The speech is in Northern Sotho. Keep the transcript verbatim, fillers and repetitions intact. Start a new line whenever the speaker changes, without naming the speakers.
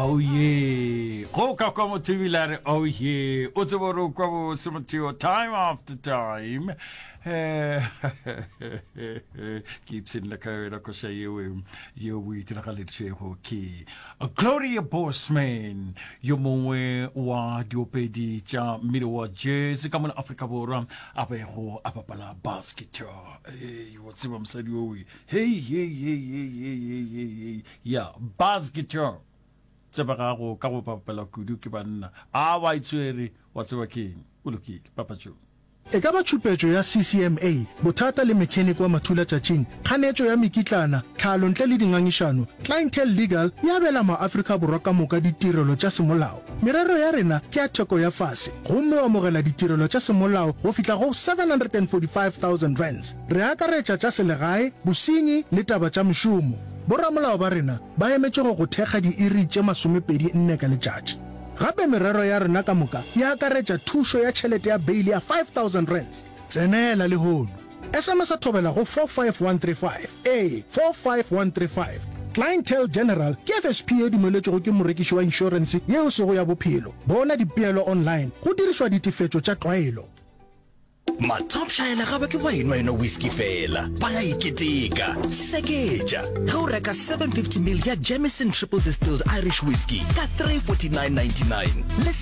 Oh yeah. Go ka kwa motho ebile a re oh yeah. O tsebe gore o kwa bose motho time after time. Eh, ke ipshinne ka yona koša yeo yeo o itiragaleditšwego ke Gloria Bosman yo mongwe wa diopedi tša mmino wa jazz ka mona Afrika Borwa a bego a bapala bass guitar. Hey, wa tseba mosadi owe. Hey, hey, hey, hey, hey, hey, hey, hey. Ya, bass guitar. Tsebegago ka go bapala kudu ke banna. A wa itshwere, wa tseba keng? O lokile, papatšong.
E ka ba tšhupetšo ya CCMA, bothata le mekheniki wa mathulatšatšing, kganetšo ya mekitlana, tlhalo ntle le dingangišano, Clientele Legal e abela maAfrika Borwa ka moka ditirelo tša semolao. Merero ya rena ke ya theko ya fase gomme o amogela ditirelo tša semolao go fihla go seven hundred and forty five thousand rands. Re akaretša tša selegae, bosenyi le taba tša mešomo. Boramolao ba rena ba emetše go go thekga diiri tše masomepedi nne ka letšatši. Gape merero ya rena ka moka e akaretša thušo ya tšhelete ya beile ya five thousand rands. Tsenela lehono. S M S thobela go four five one three five. Ee, four five one three five. Clientele General ke F S P ye dumeletšwego ke morekiši wa inšorense ye e sego ya bophelo. Bona dipeelo online go dirišwa ditefetšo tša tlwaelo.
Mathopšaela ga ba ke ba enwa enwa whisky fela, ba ya iketeka. Seketša ge o reka seven fifty mil ya Jameson Triple Distilled Irish Whiskey ka three forty nine ninety nine le